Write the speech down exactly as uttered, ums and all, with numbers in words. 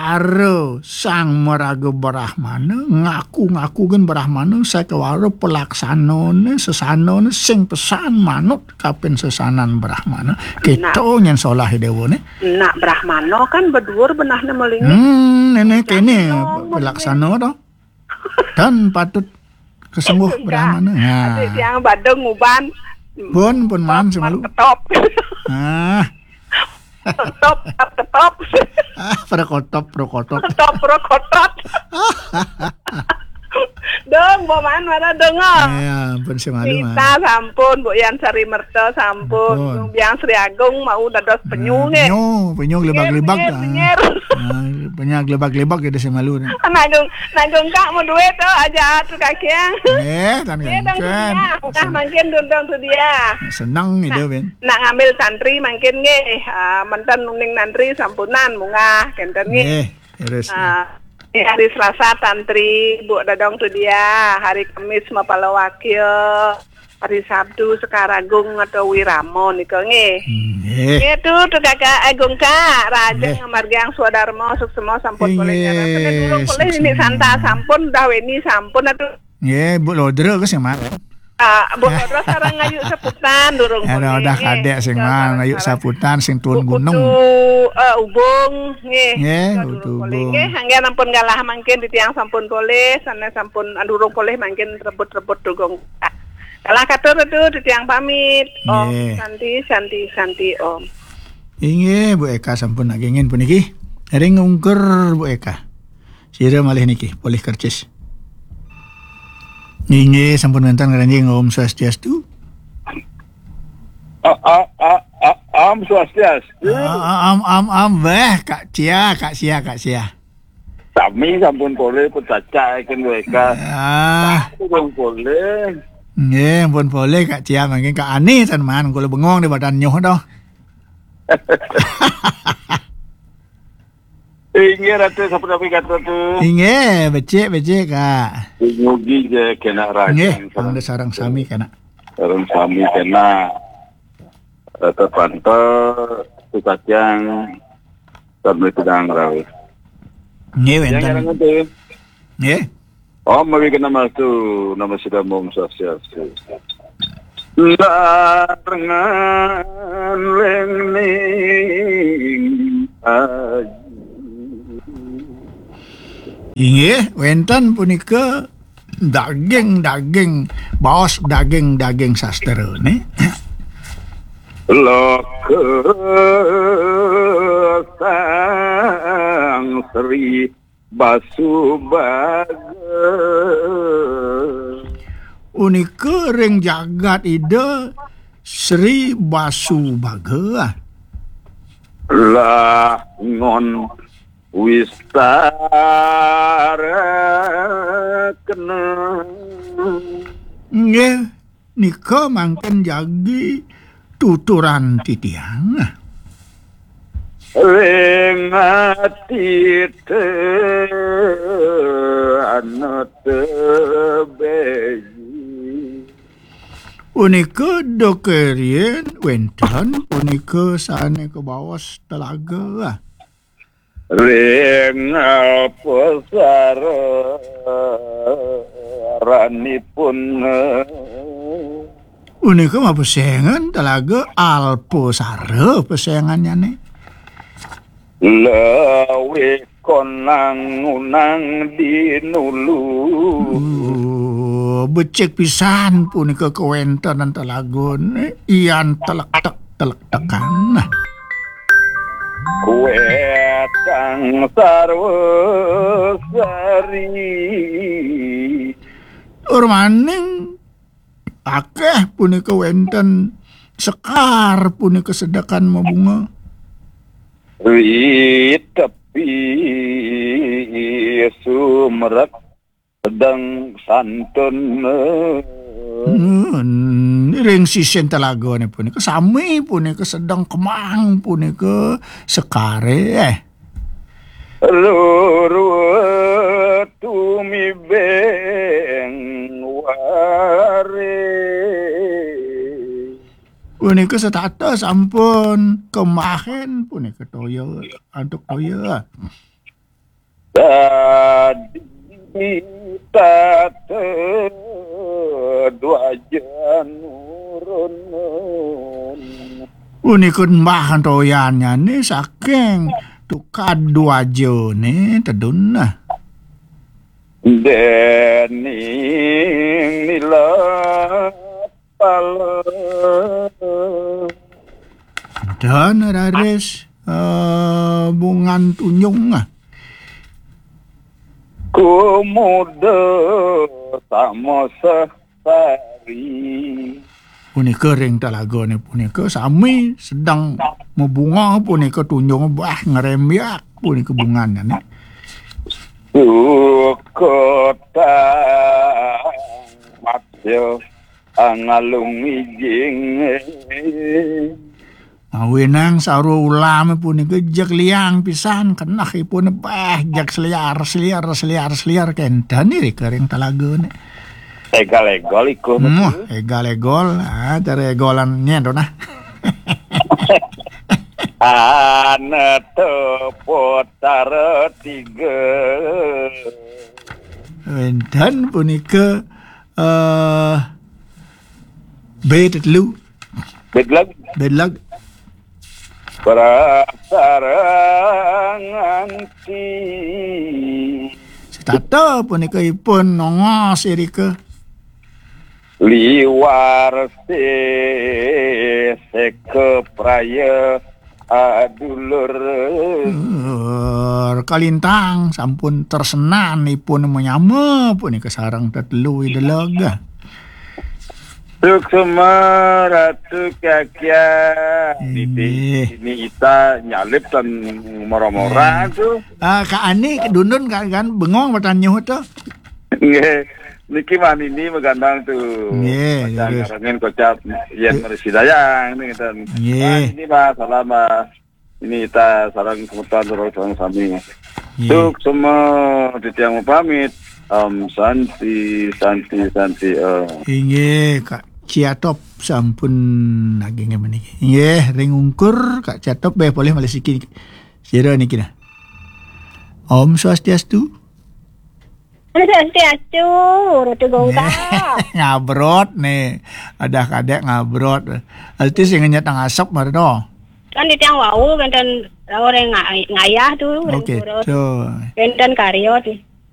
Ara Sang Maraga Brahmana, ngaku-ngaku gén Brahmana, sakewara pelaksanané, sesanané, sing pesan manut kapinsesanan Brahmana. Kéto nyén solah Déwané. Nak Brahmana kan beduur benehné malinggih. Hmm, néné kéné pelaksana to. Dan patut kesengguh Brahmana. Nah. Adik tiang badeng uban. Pun, pun maan semalu. Ketop. Ah. Ketop, ketop. Ah, pada kotop, pada kotop. Ketop, pada kotop. Dong, Bu Man, mana dengar? Ya, ampun semalu, Man. Nita sampun, Bu Yan Sari Merta sampun, ampun. Biang Sri Agung mau dados penyu, nggih. Penyu, penyu gelebak-gelebak. Penyu, penyu. Ah, penyu gelebak-gelebak gitu semalu. Nanggung, nanggung kak mau duit tuh aja tuh kakiang. Eh, tan. Nggih, dong, kan. Dia. Mungkah mangkin dundong tuh dia. Seneng gitu, Ben. Nak ngambil santri mangkin nggih, ah, menten uning nantri sampunan mungkah kenten nggih. Nggih, terus. Ah, ini hari Selasa tantri, Bu Dadong tuh dia, hari Kamis mapala wakil, hari Sabtu Sekaragung atau Wiramo nika nggih. Hmm, nggih. Nggih tuh, tuh Kakak Agung Kak, Raja nggih. Ngamargiang swadarma suksema sampun polih nggih, nyaran. Durung polih ini suksema. Santa sampun, dah weni sampun atuh. Nggih, Bu Lodra ke sing marang. Ah, Bu Lodra sareng Ayu Saputan durung. Ada polih, udah nggih. Kadek sing marang, Ayu Saputan sing turun gunung. Kutu, eh, Ubung, nggih. Nggih, kita Kutu durung polih, Ubung. Nggih, anggen ampun galah mangkin titiang sampun polih, sanés sampun durung polih mangkin rebut-rebut dugung. Galah katur tuh titiang pamit. Om nggih. Santi, santi, santi, Om. Inggih, Bu Eka sampun nagingin puniki. Ring ungkur, Bu Eka. Sira malih niki, polih kercis. Inggih, sampun wénten ngranjing. Om Swastiastu. A, a, a, a, Om Swastiastu. A, a, am, am, am, wéh, Kak Cia, Kak Cia, Kak Cia. Sami sampun polih, pun cacahaken wéka. Ah. Sampun polih. Nggih, ampun polih, Kak Cia, mangkin Kak Ani, tan man, kula bengong di badan nyuh, doh. Inggih, Ratu, sapunapi katur, Ratu? Inggih, becik, becik, Kak. Mugi ja kena rajan. Nggih, sareng pangda sareng sami kena. Sareng sami kena. Ratu Panto, Tukatiang, Sarmi Pedang Rawi. Nggih, wénten. Yang ngarang itu. Nggih. Om Awighnamastu, Namo Siddham, Om Swastiastu. Larengan ning ayu. Inggih, wénten punika daging-daging, baos daging-daging sastra, né. Loka Sang Sri Basubaga. Punika ring jagat Ida Sri Basubaga. Langon wistarakena. Nggih. Nika mangkin jagi tuturan titiang. Ring ati te anut beji. Punika dok riyin wénten punika sané kabaos telaga. Ring alpasaranipun. Punika mapesengan telaga alpasara pesengannyané. Lawikon nangunang dinulu. Uh, becik pisan punika kawéntenan telagané, yan telektek-telektekan. Wétang sarwa sari. Tur maning akéh punika wénten sekar punika sedekan mabunga. Ri tepi sumrek sedeng santun. Hmm, ring sisin telagané punika, sami punika sedeng kemang punika sekaré. Lurwa tumibeng wari. Punika setata sampun kemahin punika toya, antuk toya. Tadi tata dwaja nurun. Punika mbah toyannyane saking tukad dwajane tedun nah. Dening nila pala. Dan raris, eh, bungan tunjung. Kumuda sama sari. Punika ring talagane punika sami sedang mabunga punika tunjung bah ngrembyak punika bungannyane. Sukota matya angalung ijing. Ngawinang sarwa ulame punika jeg liang pisan, keneh ipun bah jeg seliar, seliar, seliar, seliar kenten iri kering talagane. Egal-egal ikuh. Muh, egal-egol, ah, cara egolan nyen to nah. Anata potara tiga. Wenten punika, eh, B telu. Bedlag. Bedlag. Prasarang anti. Setata punika ipun nongos irika. Liwar seka praya adulur. Eh, kalintang sampun tersenan ipun menyama punika sareng tetelu ideleg. Suksma Ratu Kakya. Niti, inggih. Ini ita nyalip tan mora-mora tu. Ah, Kak Ani, Dundun kan, kan bengong matan nyuh tu. Nggih. Niki mah nini magandang tu. Nggih, kocap terus. Ngarangin kocap yen, eh, marisi dayang ni ngeten. Nggih. Ah, ini mah salam, ah, ini ita sareng semeton sareng sami. Nggih. Suksma titiang mapamit. Om Santi, Santi, Santi, eh. Inggih, Kak Ciatop sampun naging meniki. Inggih, ring ungkur Kak Ciatop, beh, polih malih siki. Sira niki nah. Om Swastiastu. Om Swastiastu, Ratu Gongka. Ngabrot nih. Adah kadek ngabrot. Alti sing ngenyet nang asap mari to. Kan di tiang wau kenten orang nga-, ngayah tu, orang turut. Oke, so. Kenten karya tu.